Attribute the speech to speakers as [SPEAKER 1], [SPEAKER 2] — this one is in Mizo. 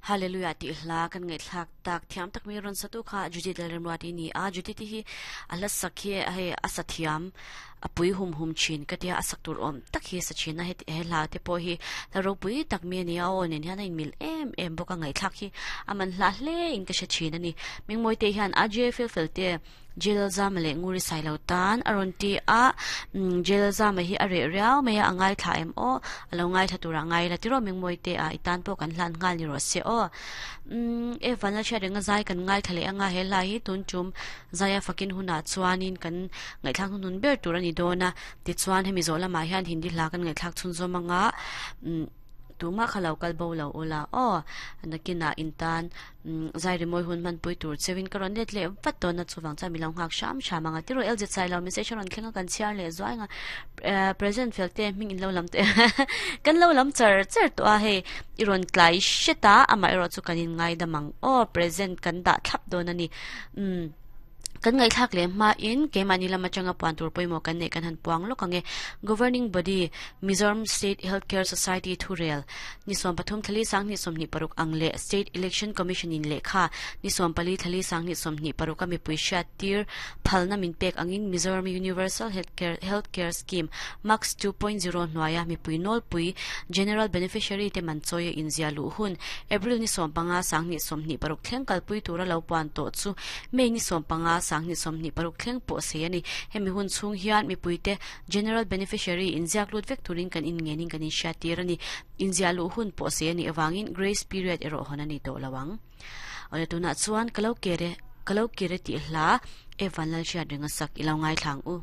[SPEAKER 1] Hallelujah tih hla kan ngaihthlak tak thiam tak mai rawn satu kha Judith Lalremruati a ni a, Judith-i hi a hla sak hi hei a sa thiam a pui hum hum thin ka tia a sak tur awm tak hi a sa thin a heti he hla te pawh hi hla ropui tak mai a ni a, a aw nen hian a inmil em em bawk a ngaihthlak hi a man hla hle in ka hre thin a ni. Mingmawite hian a J fel fel te. Jail Zama leh Nguri Sailo tan a rawn ti a, umm Jail Zama hi a reh riau mai a, a ngaithla em aw, a lo ngaithla turah ngai ila tiraw Mingmawi te a, i tan pawh kan hlan nghal ni rawh se aw. Umm e Vanla hriat renga zai kan ngaithla leh anga he hla hi tun tum zaia fakin hunah chuanin kan ngaihthlak hnuhnun ber tur a ni dawn a, tichuan hemi zawh lamah hian Hindi hla kan ngaihthlak chhunzawm anga umm tumah kha lo kal bo lo ula aw, nakinah in tan Zai rimawi hun hmanpui tur cheuin ka rawn let leh vat dawn a, chuvang chuan mi lo nghak hram hram ang a. Tiraw LZ Sailo message a rawn thleng a, kan chhiar leh zuai ang a. Present fel te hming in lo lam teh kan lo lam char char tawh a, hei i rawn tlai hret a, amaherawh chu kan in ngaidam ang aw, present kan dah thlap dawn a ni. Umm. Kan ngaihthlak leh hmain keimahni lam atanga puan tur pawimawh kan neih kan han puang lawk ang e. Governing Body, Mizoram State Health Care Society thurel ni 13 thlali 20 26 ang leh State Election Commission in lehkha ni 14 thlali 20 26 a mipui hriat tir phalna min pek angin Mizoram Universal Health Care Health Care Scheme MACS 2.0 hnuaia mipui nawlpui General Beneficiary te man chawi a inziah luh hun April ni 15 20 26 thleng kalpui tura lo puan tawh chu May ni 15, 2026 thleng pawh sei a ni. Hemi hun chhung hian mipuite General Beneficiary inziak lut vek turin kan inngenin kan inhriattir a ni. Inziah luh hun pawh sei a nih avangin Grace Period erawh hawn a ni tawh lo ang. Awle tunah chuan ka lo kir e, ka lo kir e tih hla Evan Lalhriat ringa sak i lo ngaithla ang u.